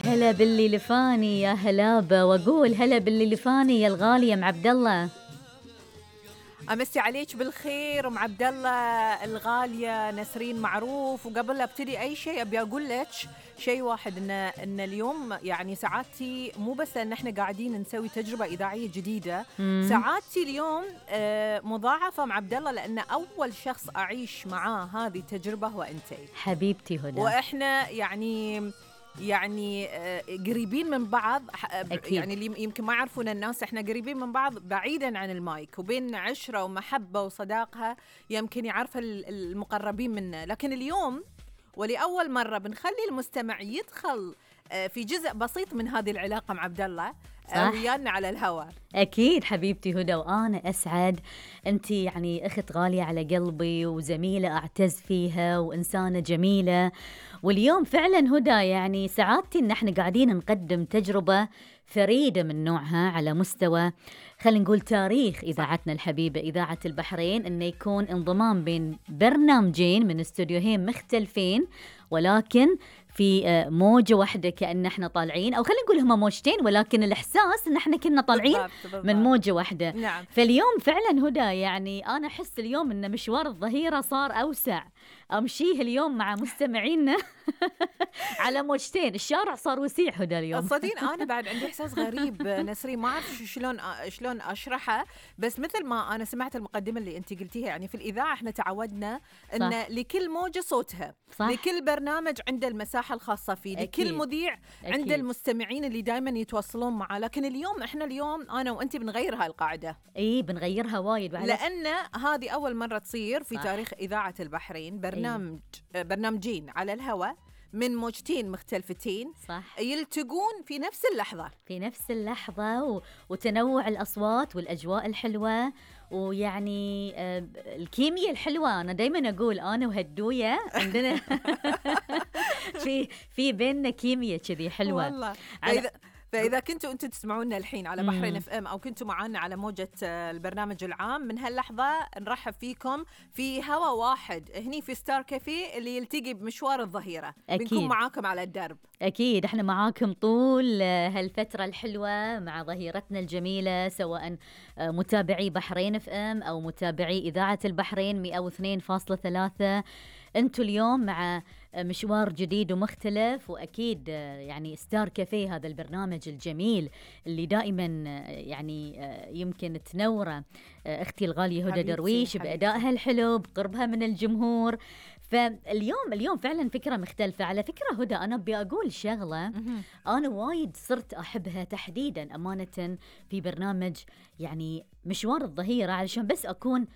هلا باللي لفاني يا هلابة، واقول هلا باللي لفاني يا الغالية ام عبد الله. امسي عليك بالخير ام عبد الله الغاليه نسرين معروف. وقبل لا ابتدي اي شيء ابي اقول لك شيء واحد، ان اليوم يعني سعادتي مو بس ان احنا قاعدين نسوي تجربه اذاعيه جديده، سعادتي اليوم مضاعفه ام عبد الله، لان اول شخص اعيش معاه هذه التجربه هو انتي حبيبتي هدى. واحنا يعني قريبين من بعض. أكيد. يعني اللي يمكن ما يعرفون الناس، احنا قريبين من بعض بعيدا عن المايك، وبيننا عشرة ومحبة وصداقة يمكن يعرفها المقربين منا. لكن اليوم ولأول مرة بنخلي المستمع يدخل في جزء بسيط من هذه العلاقة مع عبد الله ويانا على الهواء. أكيد حبيبتي هدى، وأنا أسعد. أنت يعني أخت غالية على قلبي وزميلة أعتز فيها وإنسانة جميلة. واليوم فعلا هدى يعني سعادتي إن احنا قاعدين نقدم تجربة فريدة من نوعها على مستوى، خلينا نقول تاريخ إذاعتنا الحبيبة إذاعة البحرين، إنه يكون انضمام بين برنامجين من استوديوهين مختلفين ولكن في موجة واحدة، كأن احنا طالعين، أو خلينا نقول هما موجتين ولكن الإحساس إن احنا كنا طالعين بالضبط. من موجة واحدة. نعم. فاليوم فعلا هدى يعني أنا أحس اليوم إن مشوار الظهيرة صار أوسع، أمشيه اليوم مع مستمعينا على موجتين، الشارع صار وسيع هدى اليوم. صدقين أنا بعد عندي إحساس غريب نسرين، ما أعرف شلون أشرحه، بس مثل ما أنا سمعت المقدمة اللي أنت قلتيها، يعني في الإذاعة إحنا تعودنا إن لكل موجة صوتها، صح. لكل برنامج عنده المساحة الخاصة فيه، أكيد. لكل مذيع عنده المستمعين اللي دايما يتواصلون معه. لكن اليوم إحنا أنا وأنت بنغير هاي القاعدة. بنغيرها وايد، لأن هذه أول مرة تصير في تاريخ إذاعة البحرين برنامجين على الهواء من موجتين مختلفتين، صح. يلتقون في نفس اللحظة وتنوع الأصوات والأجواء الحلوة، ويعني الكيمياء الحلوة. أنا دايما أقول أنا وهدوية عندنا في بيننا كيمياء كذي حلوة والله. فإذا كنتوا أنتم تسمعونا الحين على بحرين اف ام، أو كنتوا معنا على موجة البرنامج العام، من هاللحظة نرحب فيكم في هوا واحد هني في ستار كافيه اللي يلتقي بمشوار الظهيرة. أكيد. بنكون معاكم على الدرب. أكيد احنا معاكم طول هالفترة الحلوة مع ظهيرتنا الجميلة، سواء متابعي بحرين اف ام أو متابعي إذاعة البحرين 102.3. أنتوا اليوم مع مشوار جديد ومختلف، وأكيد يعني ستار كافيه هذا البرنامج الجميل اللي دائما يعني يمكن تنوره أختي الغالية هدى درويش بأدائها الحلو بقربها من الجمهور. فاليوم فعلا فكرة مختلفة. على فكرة هدى أنا بأقول شغلة أنا وايد صرت أحبها تحديدا أمانة في برنامج يعني مشوار الظهيرة، علشان بس أكون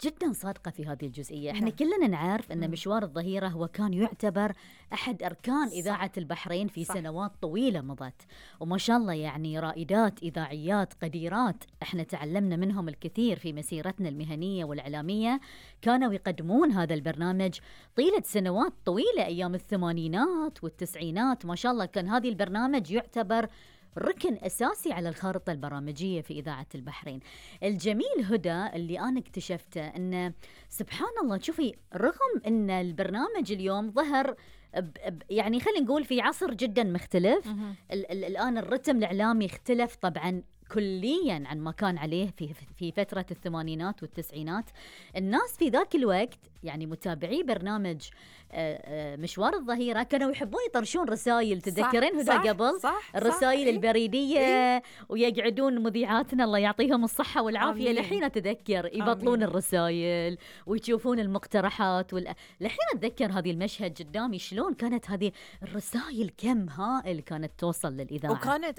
جدا صادقة في هذه الجزئية. احنا كلنا نعرف أن مشوار الظهيرة هو كان يعتبر أحد أركان إذاعة البحرين في سنوات طويلة مضت، وما شاء الله يعني رائدات إذاعيات قديرات احنا تعلمنا منهم الكثير في مسيرتنا المهنية والإعلامية، كانوا يقدمون هذا البرنامج طيلة سنوات طويلة أيام الثمانينات والتسعينات. ما شاء الله كان هذا البرنامج يعتبر ركن أساسي على الخارطة البرامجية في إذاعة البحرين. الجميل هدى اللي أنا اكتشفته أن سبحان الله، شوفي رغم أن البرنامج اليوم ظهر يعني خلينا نقول في عصر جدا مختلف، الآن الرتم الإعلامي اختلف طبعا كليا عن ما كان عليه في فترة الثمانينات والتسعينات. الناس في ذاك الوقت يعني متابعي برنامج مشوار الظهيرة كانوا يحبون يطرشون رسائل، تذكرين هدى قبل الرسائل البريدية ويقعدون مذيعاتنا الله يعطيهم الصحة والعافية لحين أتذكر يبطلون الرسائل ويشوفون المقترحات لحين أتذكر هذه المشهد قدامي شلون كانت هذه الرسائل كم هائل كانت توصل للإذاعة،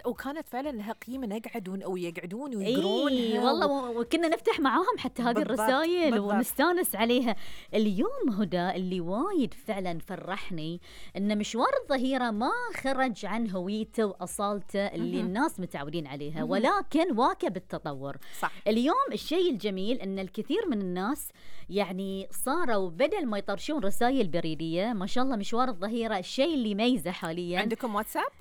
وكانت فعلا لها قيمة، نقعدون أو يقعدون ويقرون والله وكنا نفتح معاهم حتى هذه الرسائل ونستانس عليها. اليوم هدى اللي وايد فعلا فرحني ان مشوار الظهيرة ما خرج عن هويته واصالته اللي الناس متعودين عليها، ولكن واكب التطور. صح. اليوم الشيء الجميل ان الكثير من الناس يعني صاروا بدل ما يطرشون رسائل بريدية، ما شاء الله مشوار الظهيرة الشيء اللي ميزه حاليا. عندكم واتساب؟